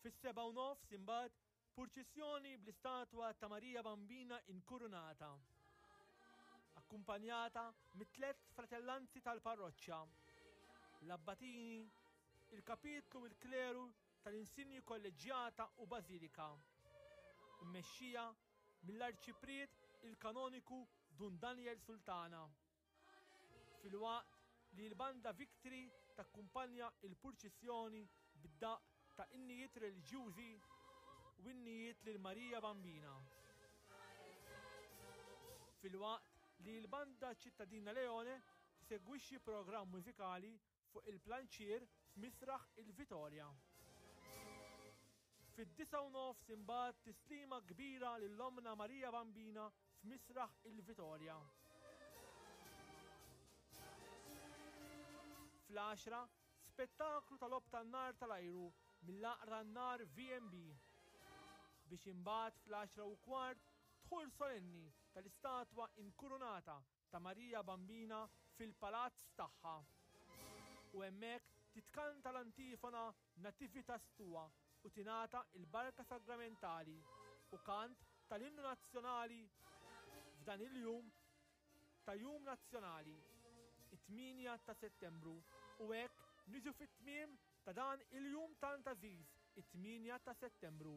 Fis-sebgħa u nofs imbagħad purċissjoni bl-istatwa ta' Marija Bambina inkurunata, akkumpanjata mit-tlett fratellanzi tal-parroċċa, l-abbatini, il-kapitlu u l-kleru tal-insinji kolleġġjata u bażilika, immexxija mill-Arċipriet il-Kanoniku Dun Daniel Sultana. Filwaqt li l-Banda Victory takkumpanja l-purċissjoni bid-daqq ta' innijiet reliġjużi u innijiet lil Marija Bambina. Filwaqt li l-Banda Ċittadina Leone tesegwixxi programm mużikali fuq il-planċier f'Misraħ il-Vitorja. Fid-disgħa u nofs imbagħad tislima kbira lil Ommna Marija Bambina f'Misraħ il-Vitorja. Fl-għaxra, spettaklu ta' logħob tan-nar tal-ajru mill-Għaqda Nar VMB. Biex imbagħad fl-għaxra u kwart dħul solenni tal-istatwa inkurunata ta' Marija Bambina fil-palazz tagħha. U hemmhekk titkanta l-antifona Nativitas Tua u tingħata l-Barka Sagramentali u kant tal-Innu Nazzjonali f'dan il-jum ta' Jum Nazzjonali, it-8 ta' Settembru, u hekk niġu fit-tmiem ta' dan il-jum tant għażiż, it-8 ta' Settembru.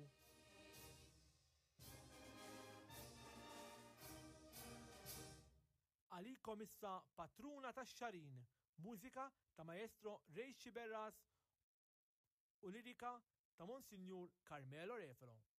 Għalikom issa Patruna tax-Xagħrin, mużika ta' Maestro Ray Sciberras u lirika ta' Monsinjur Carmelo Refolo.